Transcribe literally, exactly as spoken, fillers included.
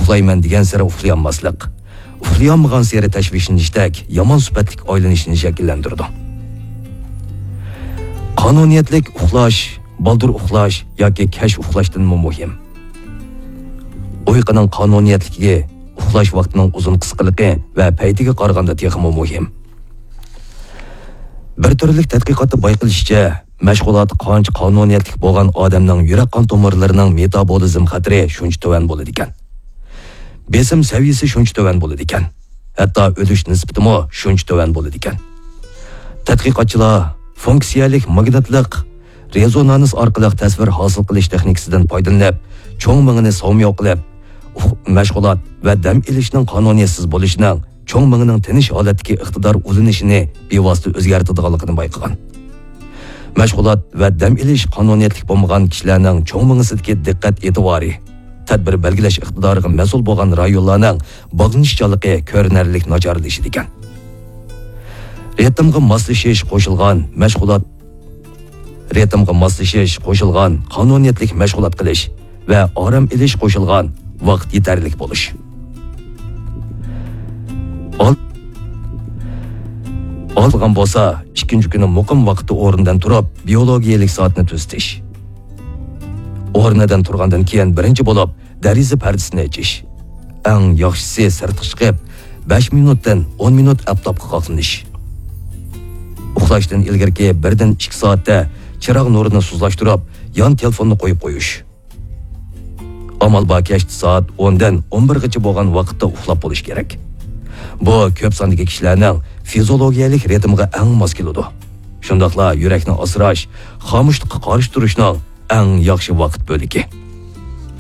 ئۇخلايمەن دېگەنسېرى ئۇخلىيالماسلىق، ئۇخلىيالمىغانسېرى تەشۋىشلىنىشتەك يامان سۈپەتلىك ئايلىنىشنى شەكىللەندۈرىدۇ. قانۇنىيەتلىك ئۇخلاش بالدۇر ئۇخلاش ياكى كەچ ئۇخلاشتىنمۇ مۇھىم. ئۇيقۇنىڭ قانۇنىيەتلىكى ئۇخلاش ۋاقتىنىڭ ئۇزۇن قىسقىلىقى ۋە پەيتىگە قارىغاندا تېخىمۇ مۇھىم. بىر تۈرلۈك تەتقىقاتتا بايقىلىشىچە، مەشغۇلات قانچە قانۇنىيەتلىك بولغان ئادەمنىڭ يۈرەك قان تومۇرلىرىنىڭ مېتابولىزم خەتىرى شۇنچە تۆۋەن بولىدىكەن. بېسىم سەۋىيەسى شۇنچە تۆۋەن بولىدىكەن. ھەتتا ئۆلۈش نىسبىتىمۇ شۇنچە تۆۋەن بولىدىكەن. تەتقىقاتچىلار فۇنكسىيەلىك ماگنىتلىق رېزونانس ئارقىلىق تەسۋىر ھاسىل قىلىش تېخنىكىسىدىن پايدىلىنىپ، چوڭ مېڭىنى ساۋمىياۋ قىلىپ، ئۇخ-، مەشغۇلات ۋە دەم ئېلىشنىڭ قانۇنىيەتسىز بولۇشىنىڭ چوڭ مېڭىنىڭ تىنچ ھالەتتىكى ئىقتىدار ئۇلىنىشىنى بىۋاسىتە ئۆزگەرتىدىغانلىقىنى بايقىغان. مەشغۇلات ۋە دەم ئېلىش قانۇنىيەتلىك بولمىغان كىشىلەرنىڭ چوڭ مېڭىسىدىكى دىققەت ئېتىبارى، تەدبىر بەلگىلەش ئىقتىدارىغا مەسئۇل بولغان رايونلارنىڭ باغلىنىشچانلىقى كۆرۈنەرلىك ناچارلىشىدىكەن. رىتىمغا ماسلىشىش قوشۇلغان مەشغۇلات، رىتىمغا ماسلىشىش قوشۇلغان قانۇنىيەتلىك مەشغۇلات قىلىش ۋە ئارام ئېلىش قوشۇلغان ۋاقىت يېتەرلىك بولۇش. ئال-، ئالغان بولسا، ئىككىنچى كۈنى مۇقىم ۋاقىتتا ئورنىدىن تۇرۇپ، بىيولوگىيەلىك سائەتنى تۈزىتىش. ئورنىدىن تۇرغاندىن كېيىن بىرىنچى بولۇپ دېرىزە پەردىسىنى ئېچىش. ئەڭ ياخشىسى سىرتقا چىقىپ، بەش مىنۇتتىن ئون مىنۇت ئاپتاپقا قاقلىنىش. ئۇخلاشتىن ئىلگىرىكى بىردىن ئىككى سائەتتە چىراغ نۇرىنى سۇسلاشتۇرۇپ، يان تېلېفوننى قويۇپ قويۇش. ئامال بار كەچتە سائەت ئوندىن ئون بىرغىچە بولغان ۋاقىتتا ئۇخلاپ بولۇش كېرەك. بۇ كۆپ ساندىكى كىشىلەرنىڭ فىزىولوگىيەلىك رىتىمىغا ئەڭ ماس كېلىدۇ. شۇنداقلا يۈرەكنى ئاسراش، خامۇشلۇققا قارشى تۇرۇشنىڭ ئەڭ ياخشى ۋاقىت بۆلىكى.